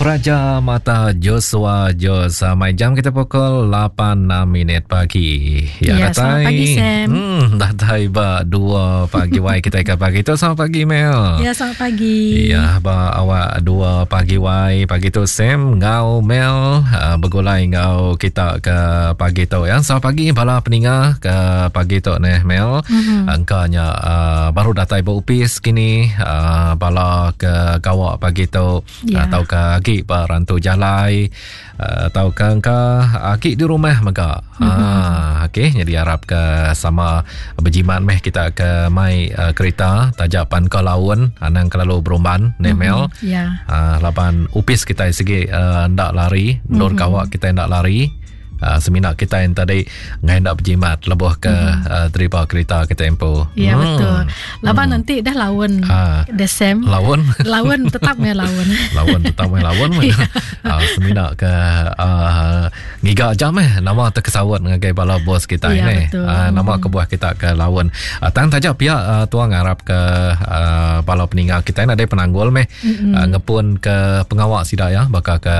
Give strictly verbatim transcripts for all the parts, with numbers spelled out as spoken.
Praja Mata Joshua Jos. Mai jam kita pukul lapan enam minit pagi. Ya, ya datai. Selamat pagi Sam. Hmm, datai ba dua pagi wai kita ke pagi tu. Selamat pagi Mel. Ya, selamat pagi. Ya, ba awak dua pagi wai pagi tu Sam ngau Mel uh, bergulai ngau kita ke pagi tu ya. Selamat pagi bala peninga ke pagi tu neh Mel. Mm-hmm. Angkanya uh, baru datai ba upis kini uh, bala ke gawak pagi tu ya. Atau ke agi ba rantu jalai atau ke engka agi di rumah mega. Mm-hmm. Ah, okey, jadi harap ke sama berjimat meh kita ke mai uh, kereta tajapan ke laun anang kelalu berumban ne Mel. Mm-hmm. Ya. Ah, laban upis kita segi uh, ndak lari, ndur mm-hmm. gawak kita ndak lari. Uh, semina kita yang tadi ngai ndak berjimat lebuh ke mm-hmm. uh, driver kereta kita empu. Ya hmm. Betul. Laban hmm. nanti dah lawan uh, desem. Lawan. Lawan tetap meh lawan. Lawan tetap meh lawan. uh, semina ke uh, ngiga jam meh nama terkesawat ngagai bala bos kita ya, ini. Uh, nama hmm. kebuah kita ke lawan. Uh, tang taja pihak uh, tuang harap ke uh, bala peninggal kita ada penanggul meh mm-hmm. uh, ngepun ke pengawak sida ya bakal ke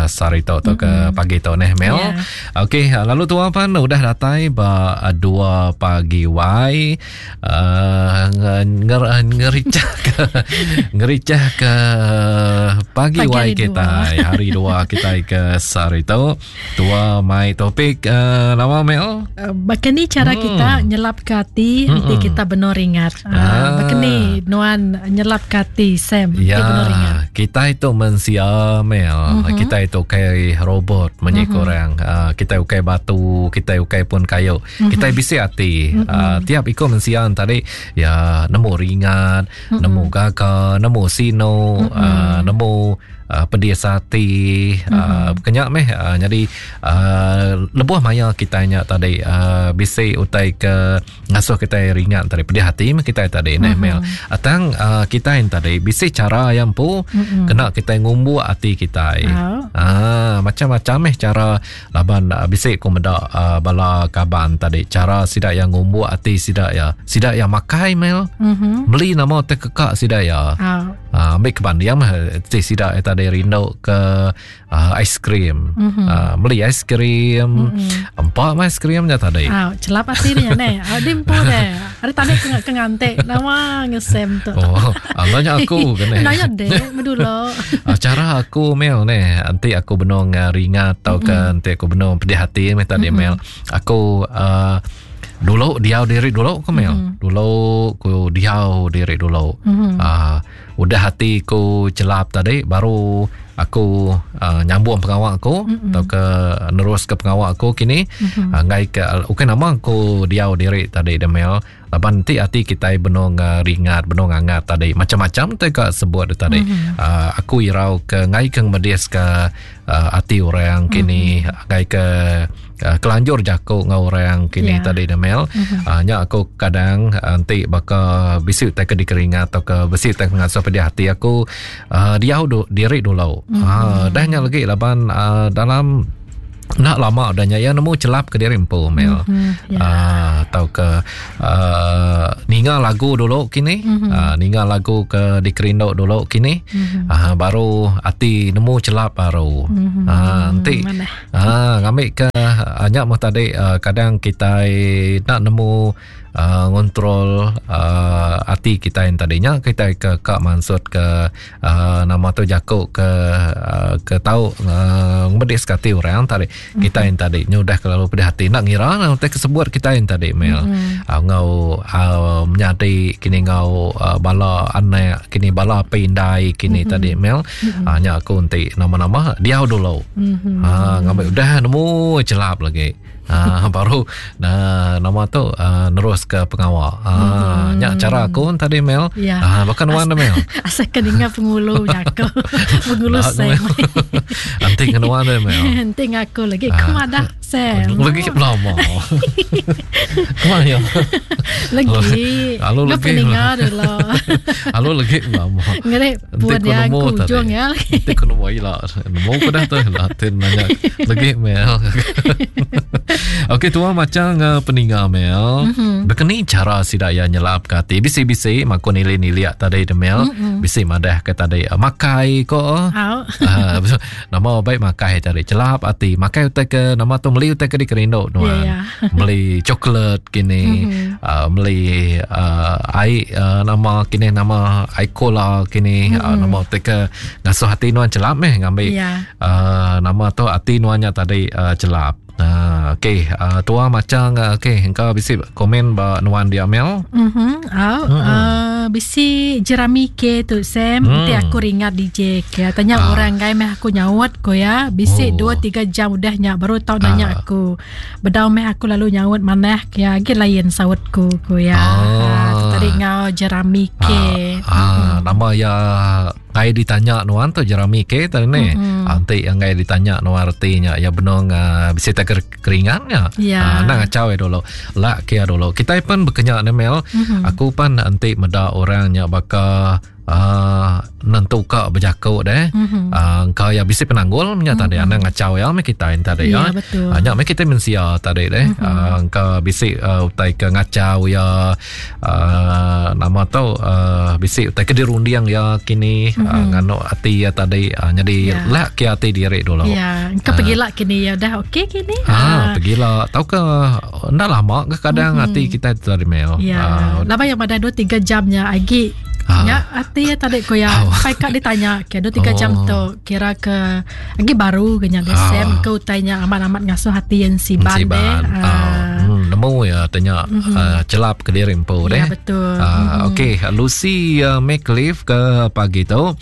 sari tu atau mm-hmm. ke pagi tu neh Mel. Yeah. Okey, lalu tuan pan udah datai ba dua pagi wai uh, nger, ngericah ke ngericah ke pagi, pagi wai kita dua. Hari dua kita ke sari tu tua mai topik uh, nama Mel. Uh, bakani cara hmm. kita nyelap ke hati nanti kita benar ingat. Uh, ah. Bakani nuan nyelap ke hati Sam ya, benar ingat. Kita itu mensia Mel. Uh-huh. Kita itu kayak robot menye uh-huh. korang. Uh, kita ukai batu, kita ukai pun kayu. Mm-hmm. Kita bisi hati. Mm-hmm. Uh, tiap ikut mensian tadi ya nemu ringat, mm-hmm. nemu gaga, nemu sino, mm-hmm. uh, nemu uh, pedis hati, mm-hmm. uh, kenyak meh. Uh, jadi uh, lebuh maya kita nya tadi uh, bisi utai ke ngasuh kita ringat tadi pedih hati meh kita tadi mm-hmm. neh Mel. Atang uh, kita yang tadi bisi cara yang pu mm-hmm. kena kita ngumbu hati kita. Oh. Ah, macam-macam meh cara laban uh, bisik ku meda uh, bala kaban tadi cara sidak yang ngumbu hati sidak ya sidak yang makai Mel mm-hmm. beli nama terkekak sidak ya oh. uh, ambil kebandiam ti sidak tadi rindu ke uh, aiskrim mm-hmm. uh, beli aiskrim mm-hmm. empat aiskrimnya tadi oh, celap hati dia ne adim pun deh hari tadi ke ngantek nama ngesem tu oh nanya aku kene nanya deh medulo uh, cara aku Mel ne nanti aku benong uh, ringat atau ke mm-hmm. nanti aku benong pedih hati meh tadi mm-hmm. Mel aku uh, dulu diau diri dulu ke Mel mm-hmm. dulu ku diau diri dulu mm-hmm. uh, udah hati ku celap tadi baru aku uh, nyambung pengawak aku mm-hmm. atau ke nerus ke pengawak aku kini mm-hmm. uh, ngai ke bukan nama aku diau diri tadi Mel laban nanti hati kita benong uh, ringat benong hangat tadi macam-macam te ka sebut tadi mm-hmm. uh, aku irau ke ngai ke medis ke uh, hati orang kini mm-hmm. ngai ke uh, kelanjur jako ngau orang kini yeah. tadi Mel mm-hmm. uh, nya aku kadang nanti baka bisi te ke dikeringat atau ke bisi te ngasuh pedih hati aku uh, diau du, diri dulu mm-hmm. uh, dah nya lagi laban uh, dalam nak lama dah nya ya nemu celap ke diri empu Mel mm-hmm, yeah. uh, atau ke uh, ninga lagu dulu kini mm-hmm. uh, ninga lagu ke dikerindu dulu kini mm-hmm. uh, baru hati nemu celap baru mm-hmm. uh, nanti uh, ngambil ke uh, nyak mah tadi uh, kadang kita nak nemu Uh, ngontrol uh, hati kita yang tadinya kita ke kak maksud ke uh, nama tu jakuk ke uh, ke tahu uh, ngedis hati orang tadi mm-hmm. kita yang tadi nya udah kelalu pedih hati nak ngira nanti kesebut kita yang tadi Mel mm-hmm. uh, ngau uh, menyadi kini ngau uh, bala anak kini bala pindai kini mm-hmm. tadi Mel mm-hmm. uh, nya aku nanti nama-nama dia dulu mm-hmm. uh, ngambil udah nemu celap lagi. Ah, baru nah, nama tu uh, nerus ke pengawal. Ah, hmm. nyak cara aku tadi Mel. Ya. Ah, bahkan wan Mel. Asal keninga pengulu jako. Pengulu Sam. Nanti kena wan Mel. Nanti ngaku lagi kemadah Sam. Lagi lama. Kemana ya? Lagi. Lalu lagi. Peninga dulu. Lalu lagi lama. Ngeri buat yang kujung ya. Nanti kena wai lah. Nemu ku dah tu lah. Nanya lagi Mel. Okey tua macam uh, peninga Mel. Mm-hmm. Bekeni cara sida ya nyelap ke hati. Bisi-bisi maku nili-nili tadi de Mel. Mm-hmm. Bisi madah ke tadi uh, makai ko. Uh, nama baik makai tadi celap hati. Makai utai ke nama tu meli utai ke dikerindu nuan. Yeah, yeah. Meli coklat kini, mm-hmm. uh, meli uh, air uh, nama kini nama air cola kini, mm-hmm. uh, nama utai ke ngasuh hati nuan celap meh ngambil. Yeah. Uh, nama tu hati nuannya tadi uh, celap. Uh, okey, uh, tua macam uh, okey, engkau bisi komen ba nuan dia Mel. Mhm. Au, mm-hmm. uh, bisi jerami ke tu Sam, mm. Nanti aku ringat D J ke. Tanya ah. orang gai meh aku nyaut ko ya. Bisi oh. dua tiga jam udah nya baru tau nanya ah. aku. Bedau meh aku lalu nyaut manah ke agi lain saut ku ko ya. Ah. Uh, tadi ngau jerami ke. Ah, ah nama ya ngai ditanya nuan tu jerami ke tadi ni. Mm-hmm. Nanti yang ngai ditanya nuan artinya ya benong uh, bisi tak keringannya. Ya. Uh, nak ngacau ya dulu. Lak kia dulu. Kita pun berkenyak ni Mel. Mm-hmm. Aku pun nanti meda orangnya baka uh, nentu ka berjakuk deh. Mm-hmm. Uh, kau ya bisi penanggul nya mm-hmm. tadi anang ngacau ya me kita tadi ya. Ya. Betul. Uh, nya me kita mensia tadi deh. Mm-hmm. Uh, kau bisi uh, utai ke ngacau ya uh, nama tu uh, bisi utai ke dirundiang ya kini mm-hmm. uh, nganu hati ya tadi uh, jadi ya. Lak ke hati diri dulu. Ya, kau uh, pergilah kini ya dah okey kini. Ah, uh, pergilah. Tahu ke ndak lama ke kadang mm-hmm. hati kita tadi Mel. Ya. Uh, lama yang pada dua tiga jamnya lagi. Ah. Ya, hati ya tadi ko ya. Oh. Pai kak ditanya ke dua tiga oh. jam tu kira ke lagi baru ke nya Ah. Sem ke utainya amat-amat ngasuh hati yang siban deh. Ah. Ah. Hmm, nemu ya tanya mm-hmm. uh, celap ke diri empu deh. Ya betul. Uh, mm-hmm. Okey, Lucy uh, McLeaf ke pagi tu.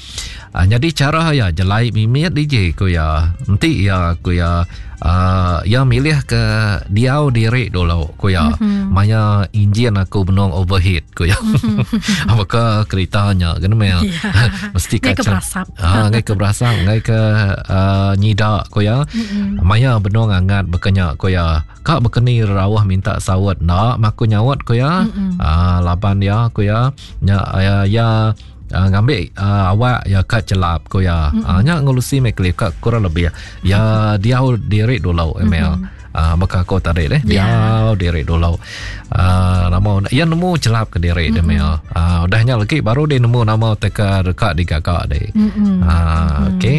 Uh, jadi cara ya jelai mimit D J ko ya. Nanti ya ko ya uh, ya milih ke diau diri dulu ko ya. Mm-hmm. Maya enjin aku benong overheat ko ya. Mm-hmm. Apakah keretanya kena mel. Yeah. Mesti ngai ke kacau. berasap. Ah, ngai ke berasap, ngai ke uh, nyidak ko ya. Mm-hmm. Maya benong angat berkenyak ko ya. Kak berkeni rawah minta sawat nak maku nyawat ko ya. Mm-hmm. Ah, laban ya ko ya. Nya ya, ya Uh, ngambil uh, awak ya kat celap ko ya. Mm-hmm. Uh, nya ngurusi meklif kat kurang lebih. Ya dia diri dulu email. Mm-hmm. Uh, maka aku tarik deh. Yeah. Dia diri dulu. Uh, nama ya nemu celap ke diri Mm-hmm. dia mail. Uh, udahnya lagi baru dia nemu nama teka dekat digagak deh. Mm-hmm. Uh, okey.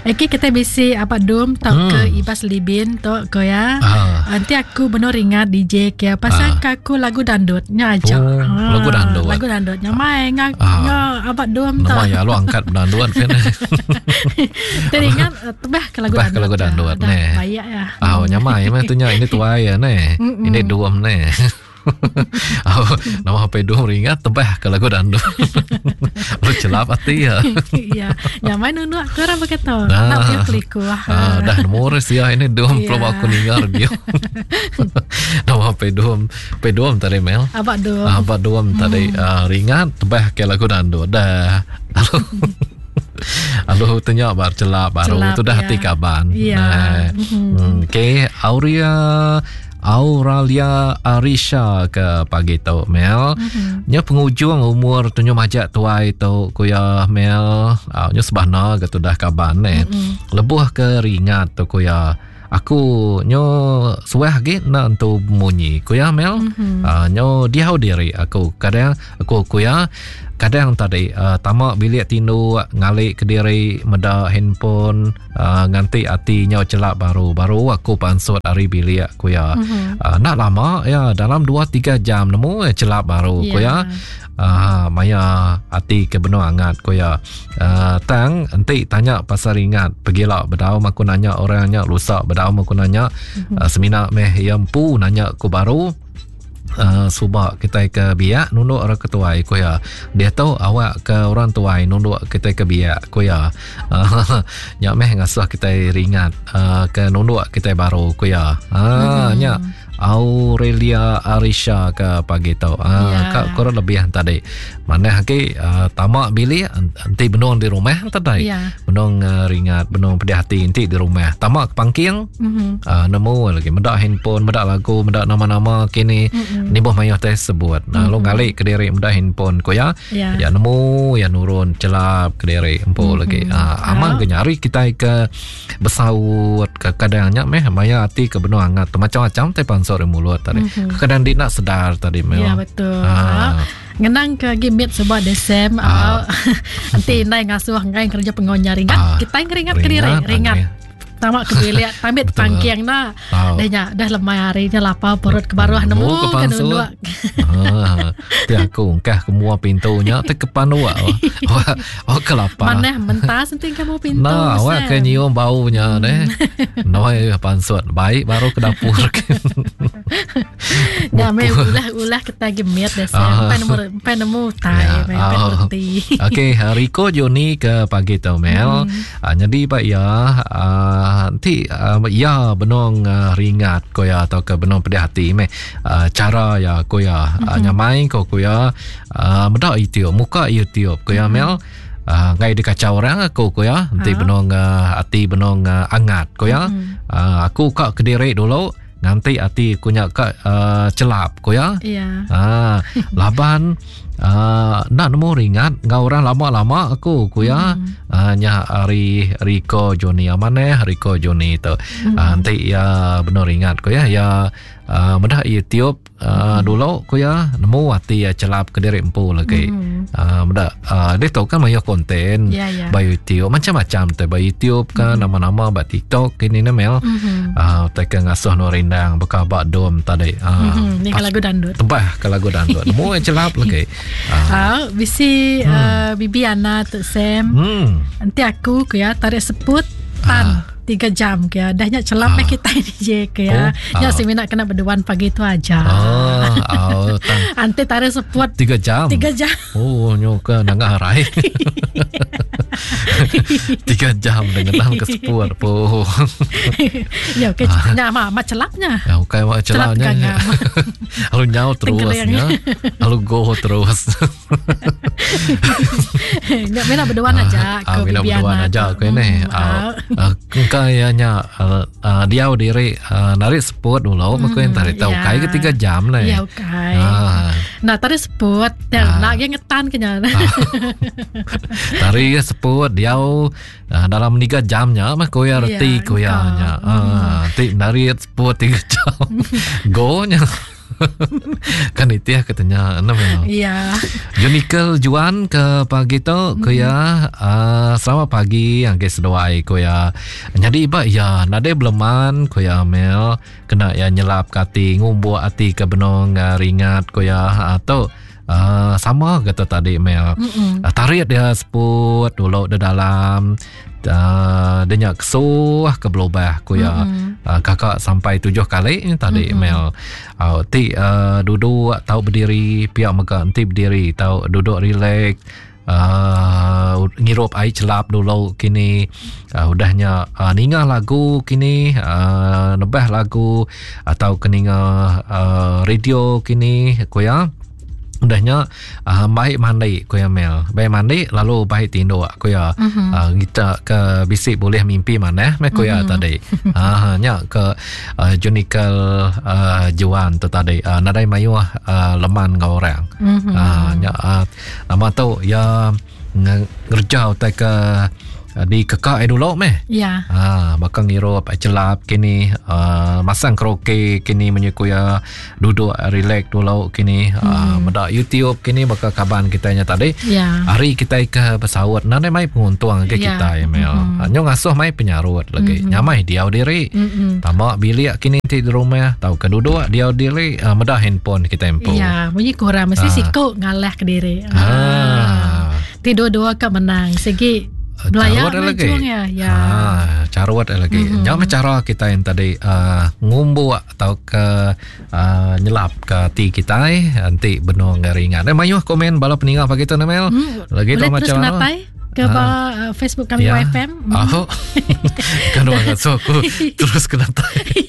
Okey kita bisi apa dum tau Hmm. ke Ibas Libin tu ko ya. Ah. Nanti aku benar ingat D J ke pasal Ah. aku lagu dandut nya aja. Oh, lagu dandut. Lagu dandut nya mai ngah Ah. ngah abad dum tu. Nama ya lu angkat dandut kan. Teringat tebah ke lagu Tebah ke dandut. lagu dandut, Dah neh. bayak ya. Ah, nyamai mah tu nya ini tuai ya neh. Mm-mm. Ini duam neh. Oh, nama H P dua ringat tebah ke lagu dandut. Lu celap hati ya. Ya, nyamai nunu aku orang berkata. Nah. Nak punya keliku. Ah, dah nemu ya ini dum Ya. belum aku dengar dia. Nama H P dua P dua tadi Mel. Abad dum. Ah, abad dua tadi ah, ringat tebah ke lagu dandut dah. Lalu Lalu tanya bar celap baru Celap, tu dah ya. hati kaban. Ya. Nah. Hmm, okey, Aurea Auralia Arisha ke pagi tu Mel. Mm-hmm. Nya pengujung umur tunyo majak tuai tu kuya Mel. Ah, nya sebana ke tu dah kaban ne. Mm-hmm. Lebuh ke ringat tu kuya. Aku nyo suah ge nak entu munyi kuya Mel. Mm-hmm. Ah, nyo diau diri aku. Kadang aku kuya kadang tadi uh, tamak bilik tindu ngalik ke diri meda handphone uh, nganti hati nyo celap baru baru aku pansut ari bilik kuya. Mm-hmm. Uh, nak lama ya dalam dua tiga jam nemu eh, celap baru Ya. kuya. Ah, maya hati ke benua angat kuya. Uh, tang enti tanya pasal ingat pergilah bedau aku nanya orangnya lusak bedau aku nanya Mm-hmm. uh, semina meh yang pu nanya ku baru. Uh, subak kita ke biak nunduk orang ketuai ku ya. Dia tahu awak ke orang tuai nunduk kita ke biak ku ya. Uh, nyak meh ngasuh kita ringat uh, ke nunduk kita baru ku ya. Ah Mm-hmm. nyak Aurelia Arisha ke pagi tu. Ah, Ya. Kak kurang lebih tadi. Mana lagi uh, tamak bilik enti benung di rumah tadi. Ya. Benung uh, ringat, benung pedih hati enti di rumah. Tamak ke pangking. Mm-hmm. Uh, nemu lagi medak handphone, medak lagu, medak nama-nama kini. Mm-mm. Nibuh mayuh teh sebut. Nah, lalu ngalik ke diri medak handphone ko ya. Ya. Ya nemu ya nurun celap ke diri empu mm-hmm. lagi. Ah, aman ke nyari kita ke besaut ke kadangnya meh maya hati ke benung hangat tu macam-macam teh pansur di mulut tadi. Mm-hmm. Kadang dia nak sedar tadi meh. Ya betul. Ah. Ngenang ke gimit sebab desem Ah. nanti nai ngasuh ngai kerja pengonya ringat Ah. kita ngeringat ke diri Ringat, ringat. ah, Tamak ke bilik tambit Betul. pangking na. Ah. Dah nya dah lemai hari nya lapar perut ke baruh nemu ke ke pansut. nunduk. Ah, ti aku ungkah ke mua pintunya te ke panua. Oh, oh ke lapar. Maneh mentas nanti kamu pintu. Nah, awak Sam. ke nyium baunya deh. Noi pansut baik baru ke dapur. Ya me ulah-ulah kita gemit deh Sam. Ah. Pai nemu pai nemu tai, Ya, pai pai oh. reti. Okey, Rico Joni ke pagi tu Mel. Hmm. Ah, jadi pak ya, ah, nanti ah, ya benong ah, ringat ko ya atau ke benong pedih hati meh. Ah, cara ya ko ya Hmm. ah, nyamai ko ko ya ah, medak YouTube, muka YouTube ko ya Hmm. Mel. Ah, ngai dikacau orang aku ko ya. Nanti Ah. benong ah, hati benong ah, angat ko ya. Hmm. Ah, aku kak ke diri dulu nanti hati aku nya kak ah, celap ko ya. Ya. Ah, laban ah, nak nemu ringat ngau orang lama-lama aku ku ya. Hmm. Ah, nya hari Rico Joni amane Rico Joni tu. Hmm. Ah, nanti ya benar ringat ku ya ya ah, medah YouTube ah, dulu ku ya nemu hati ya celap ke diri empu lagi. Hmm. Ah, medah ah, dia tahu kan banyak konten Ya ya. by YouTube macam-macam tu by YouTube kan nama-nama by TikTok kini ni Mel. Mhm. Ah, teka ngasuh nu rindang bekabak dom tadi. Ah, Mhm. Ni lagu dandut. Tebah ke lagu dandut. Nemu yang celap lagi. Ah. Ah, bisi Hmm. uh, Bibi Ana tu Sam. Hmm. Nanti aku ke ya tarik seput tan Ah. tiga jam ke ya. Dah nyak celap Ah. ah. kita ni je ke ya. Oh, Nyak ah. si minat kena berduan pagi tu aja. Ah, oh, tang Nanti tarik seput tiga jam. tiga jam. Oh, nyoka nangah harai. tiga jam dengan dalam ke seput. Po. Ya okey nyak mak mak celapnya. Ya, bukan mak Celap celapnya. gangam. Lalu nyau terus Tenggelam. ya. Lalu go terus. Nyak minat berduan aja Ah, ke bila Bibi berduan Ana aja tu. ke ni. Hmm, Ah, ah. ah, engkau ya nya ah, ah, diau diri ah, narik seput dulu maka yang tarik tahu ya. kai ke tiga jam lah. Ya okey. Ah, Nah tarik seput dan Ah. nak yang ngetan kenya. Tari seput diau ah, dalam tiga jamnya mah koya reti Ya, koya nya. engkau. Ah, ti narik seput tiga jam. Go nya. Kan itu ya katanya enam ya. Ya. Junikel Juan ke pagi tu ko ya uh, selamat pagi yang ke seduai ko ya. Jadi ba ya nade beleman ko ya Mel kena ya nyelap ke ati ngumbuk ati ke benong uh, ringat ko ya atau uh, sama kata tadi Mel. Mm-mm. Uh, tarik dia seput dulu di dalam uh, dia nyak kesuh ke belobah ko ya. Mm-mm. Uh, kakak sampai tujuh kali ni tadi mm-hmm. Mel. Uh, ti uh, duduk tau berdiri pihak mega enti berdiri tau duduk relax uh, ngirup air celap dulu kini uh, udahnya uh, ninga lagu kini uh, nebah lagu atau keninga uh, radio kini ko ya. Udahnya uh, baik mandi ko ya Mel. Baik mandi lalu baik tinduk ko ya. Mhm. Uh, kita ke bisik boleh mimpi mana meh ko ya Mhm. tadi. Ah nya ke uh, Junikel uh, Juan tu tadi. Uh, nadai mayuh uh, leman ngau orang. Mhm. Ah nya uh, nama tu ya nge- ngerja utai ke uh, di kekak eh dulu meh. Ya. Ah, bakal ngirup celap kini uh, masang karaoke kini menyekuya duduk relax dulu kini hmm. uh, medak YouTube kini bakal kaban kita nya tadi. Ya. Hari kita ke pesawat nane mai penguntung ke Ya. kita ya Mel. Mm-hmm. Nyo ngasuh mai penyarut lagi. Mm-hmm. Nyamai diau diri. Mm-mm. Tamak bilik kini ti di rumah tau ke duduk diau diri uh, medak handphone kita empu. Ya, bunyi kurang mesti Ah. siku ngalah ke diri. Ah. Tidur dua ke menang. Segi Belaya Carut lagi. ujung ya. Ya. Ah, carut lagi. Mm-hmm. Jangan cara kita yang tadi uh, ngumbuk atau ke uh, nyelap ke hati kita eh, nanti benung ringan. Eh mayuh komen bala peninggal pagi tu Namel. Hmm, Lagi tu boleh terus macam kena mana? tai ke Ah. ba, uh, Facebook kami Ya. Y F M. Hmm. Oh. Kan orang so aku terus kena tai.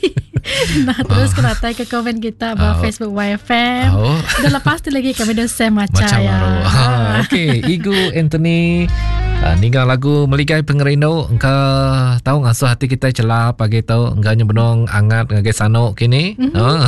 Nah, terus kena tai ke komen kita ba Oh. Facebook Y F M. Oh. Dan lepas tu lagi kami dah Sam maca Macam ya. baru. Ha, okey, Igu Anthony uh, ninggal lagu Meligai Pengerindu, engka tahu ngasuh hati kita celap pagi tu, engka nya benung angat ngagai sanu kini. Mm-hmm. Ha.